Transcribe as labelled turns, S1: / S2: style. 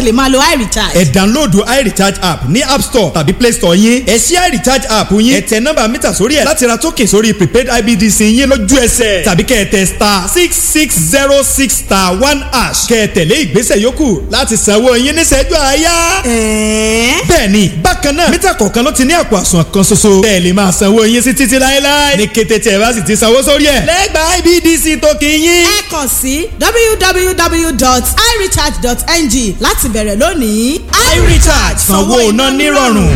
S1: lè máa lo iRecharge.
S2: Ẹ download iRecharge app ní App Store tàbí Play Store yín. Ẹ ṣí iRecharge app yín. Ẹ tẹ nọ́mbà mítà sórí ẹ̀ láti ra token sórí prepaid IBDC yín lójú ẹsẹ̀. Tàbí kẹ́ ẹ tẹ *6606*1# kẹ́ ẹ tẹ̀lé ìgbésẹ̀ yòókù láti sanwó yín níṣẹ́jú àáyá.
S1: Ẹ̀ẹ́n.
S2: Bẹ́ẹ̀ni, bákan náà mítà kọ̀ọ̀kan ló ti ní àpò àsùnwọ̀n kan ṣoṣo. Bẹ́ẹ̀ lè máa sanwó yín sí títí láéláé. Ní kété tí ẹ bá sì ti sanwó sórí ẹ̀, lẹ́gbàá IBDC tó kì í yín.
S1: Ẹ kàn sí www.irecharge.ng láti bẹ̀rẹ̀ lónìí.
S2: iRecharge, sanwó iná nírọ̀rùn.